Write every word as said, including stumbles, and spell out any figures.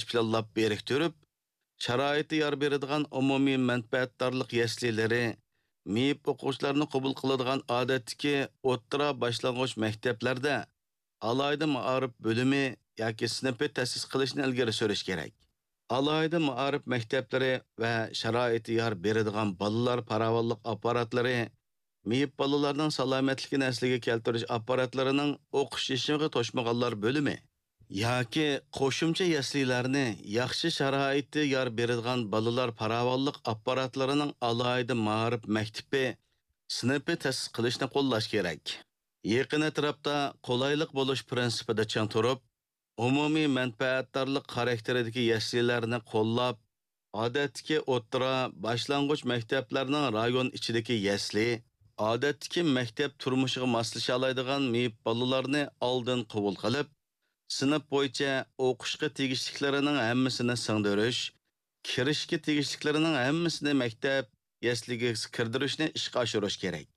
پىلانلاپ بىرىكتۈرۈپ، شارائىتى يار بېرىدىغان ئومۇمىي مەنپەئەتدارلىق يەسلىلىرى، مېيىپ ئوقۇغۇچىلارنى قوبۇل قىلىدىغان ئادەتتىكى ئوتتۇرا باشلانغۇچ مەكتەپلەردە ئالاھىدە مائارىپ بۆلۈمى ياكى سىنىپى تەسىس قىلىشنى ئىلگىرى سۈرۈش كېرەك. ئالاھىدە مائارىپ مەكتەپلىرى ۋە شارائىتى يار بېرىدىغان بالىلار پاراۋانلىق ئاپپاراتلىرى، مېيىپ بالىلارنىڭ سالامەتلىكىنى ئەسلىگە كەلتۈرۈش ئاپپاراتلىرىنىڭ ئوقۇش يېشىغا توشمىغانلار بۆلۈمى ياكى قوشۇمچە يەسلىلەرنى ياخشى شارائىتى يار بېرىدىغان بالىلار پاراۋانلىق ئاپپاراتلىرىنىڭ ئالاھىدە مائارىپ مەكتىپى، سىنىپى تەسىس قىلىشنى قوللاش كېرەك. يېقىن ئەتراپتا قولايلىق بولۇش پىرىنسىپىدا چىڭ تۇرۇپ، ئومۇمىي مەنپەئەتدارلىق خاراكتېرىدىكى يەسلىلەرنى قوللاپ، ئادەتتىكى ئوتتۇرا، باشلانغۇچ مەكتەپلەرنىڭ رايون ئىچىدىكى يەسلى، ئادەتتىكى مەكتەپ تۇرمۇشىغا ماسلىشالايدىغان مېيىپ بالىلارنى ئالدىن قوبۇل قىلىپ، سىنىپ بويىچە ئوقۇشقا تېگىشلىكلىرىنىڭ ھەممىسىنى سىڭدۈرۈش، كىرىشكە تېگىشلىكلىرىنىڭ ھەممىسىنى مەكتەپ يەسلىگە كىردۈرۈشنى ئىشقا ئاشۇرۇش كېرەك.